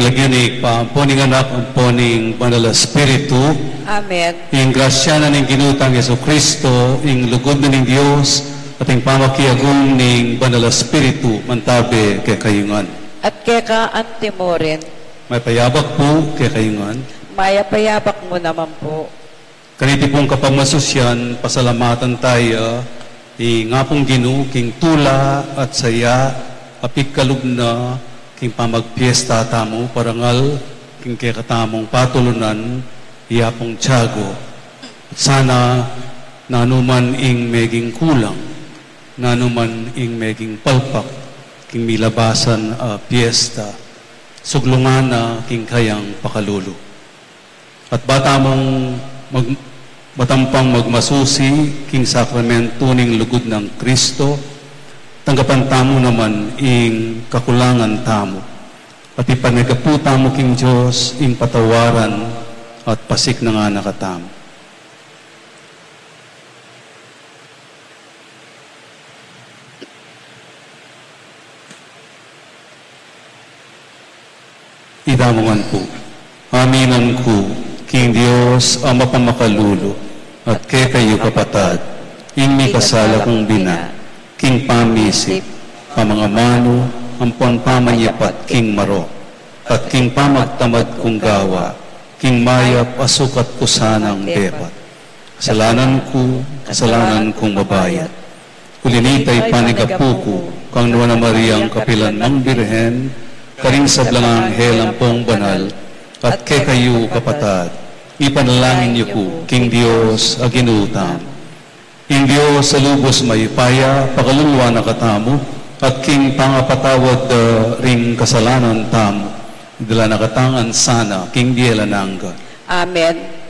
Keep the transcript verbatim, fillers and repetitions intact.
Lagyu ning Ibpa, ampo ning Anak, ampo ning Banal a Espiritu. Amen. Ing grasya na ning Ginu tang Jesucristo, ing lugud na ning Dios, at ing pamakiagum ning Banal a Espiritu, mantabe kekayu ngan. At keka antimurin. Mayap a abak pu kekayu ngan. Mayap a abak mu naman pu. Kaniti pung kapamasusian, pasalamatan taya ing Apung Ginu king tula at saya a pigkalub na king pamagpiesta tamu, parangal king kekatamung patulunan, i Apung Tiago. Sana nanu man ing meging kulang, nanu man ing meging palpak king milabasan a piesta, suglungan na king kayang pakalulu. At ba tamung mag-, ba tamu pang magmasusi king sakramento ning lugud nang Kristo, tanggapan tamu naman ing kakulangan tamu, at ipanyawad tamu king Dios ing patawaran at pasiknangan na katamu. Itamu ngan pu. Aminan ku king Dios a mapamakalulu, at kekayu kapatad, ing mikasala kung bina, king pamisip, pamangamanu, ampon pamanyapat king marok, at king pamagtamad kung gawa, king mayap a sukat ku sanang depat. Kasalanan ku, kasalanan kung mabayat. Uli na nita, ipanyawad ku kang Nuan a Mariang kapilan mang Birhen, karing sablang anghel ampong banal, at kekayu kapatad, ipanalangin yu ku king Dios a Ginu tamu. Ing Dios a lubos mayupaya, pakaluluan na katamu, at king pangapatawad da ring kasalanan tamu, idala na katamu ngan sana king bie alang angga. Amen.